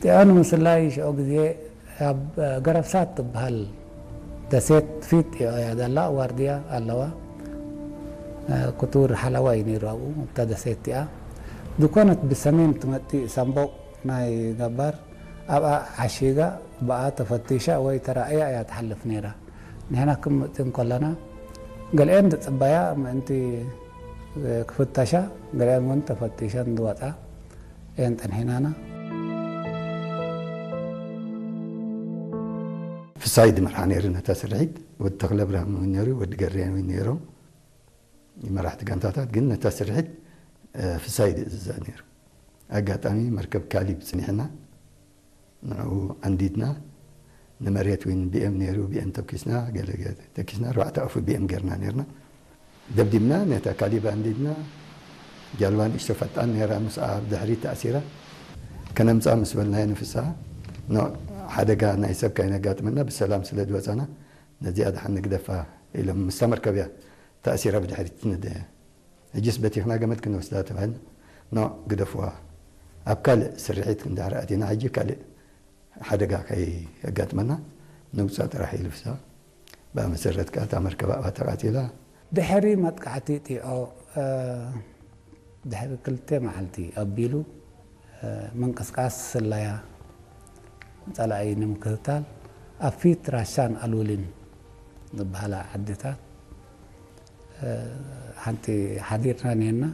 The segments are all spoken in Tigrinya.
ጢዖ ንምስላይ ሽዑ ግዜ ኣብ ገረብሳት ትበሃል ደሴት ፊት ጢዖ እያ ዘላ፣ ዋርድያ ኣለዋ። ክቱር ሓለዋ እዩ ነይሩ ኣብኡ ኣብታ ደሴት እቲኣ። ዝኾነት ብሰሜን ትመጽእ ሳምቦቕ ናይ ገባር ኣብኣ ዓሺጋ ብኣ ተፈቲሻ ወይ ተራእያ እያ ትሓልፍ ነይራ። ንሕና ክንመጽእ እንከለና ገሊአን ዝጽበያ ምእንቲ ክፍተሻ፣ ገሊአን እውን ተፈቲሸን ዝወጻ እየን ጸኒሕናና። ፍሳይ ድመርሓ ነይሩ ነታ ስርሒት። ወዲ ተኽለ ብርሃን እውን ነይሩ፣ ወዲ ገርያን እውን ነይሮም። መራሕቲ ጋንታታት ግን ነታ ስርሒት ፍሳይ ድእዝዛ ነይሩ። ኣጋጣሚ መርከብ ካሊብ ጽኒሕና ንዕኡ ዓንዲድና። ንመሬት እውን ቢኤም ነይሩ፣ ቢኤም ተኪስና፣ ገለ ገለ ተኪስና፣ ኣርባዕተ ኣፉ ቢኤም ጌርና ነይርና። ደብዲብና ነታ ካሊብ ኣንዲድና። ጃልባ ንእሽቶ ፈጣን ነይራ፣ ምስኣ ኣብ ድሕሪት ተኣሲራ። ከነምጻ ምስ በልናዮ ንፍስሓ፣ ኖ፣ ሓደጋ ናይ ሰብ ካይነጋጥመና ብሰላም ስለ ዝወጻና ነዚኣ ደሓን ንግደፋ ኢሎም፣ ምስታ መርከብ እያ ተኣሲራ ብድሕሪት ትነደ። ሕጅስ በቲኽና ገመድ ክንወስዳ ተባሂልና፣ ኖ፣ ግደፍዋ፣ ኣብ ካልእ ስርሒት ክንድሕር ኣቲና ሕጂ ካልእ ሓደጋ ከየጋጥመና ንውጻእ ጥራሕ ኢሉ ፍስሓ። ብኣ መሰረት ከኣ እታ መርከብ ኣብኣ ተቓጺላ። ድሕሪ መጥቃዕቲ ጢዖ ድሕሪ ክልተ መዓልቲ ኣቢሉ ምንቅስቃስ ስለያ ጸላኢ ንምክትታል ኣብ ፊት ራሻን ኣሉሊን ዝበሃላ ዓድታት ሓንቲ ሓዲርና ኔርና።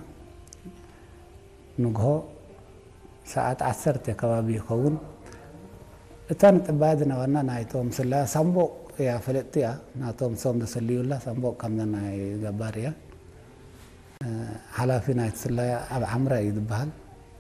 ንግሆ ሰዓት ዓሰርተ ከባቢ ይኸውን። እታ ንጥባያ ዝነበርና ናይቶም ስለያ ሳምቦቕ እያ፣ ፍልጥቲ እያ። ናቶም እሶም ዘሰልዩላ ሳምቦቕ ከምዛ ናይ ገባር እያ። ሓላፊ ናይቲ ስለያ ኣብ ዓምራ እዩ ዝበሃል።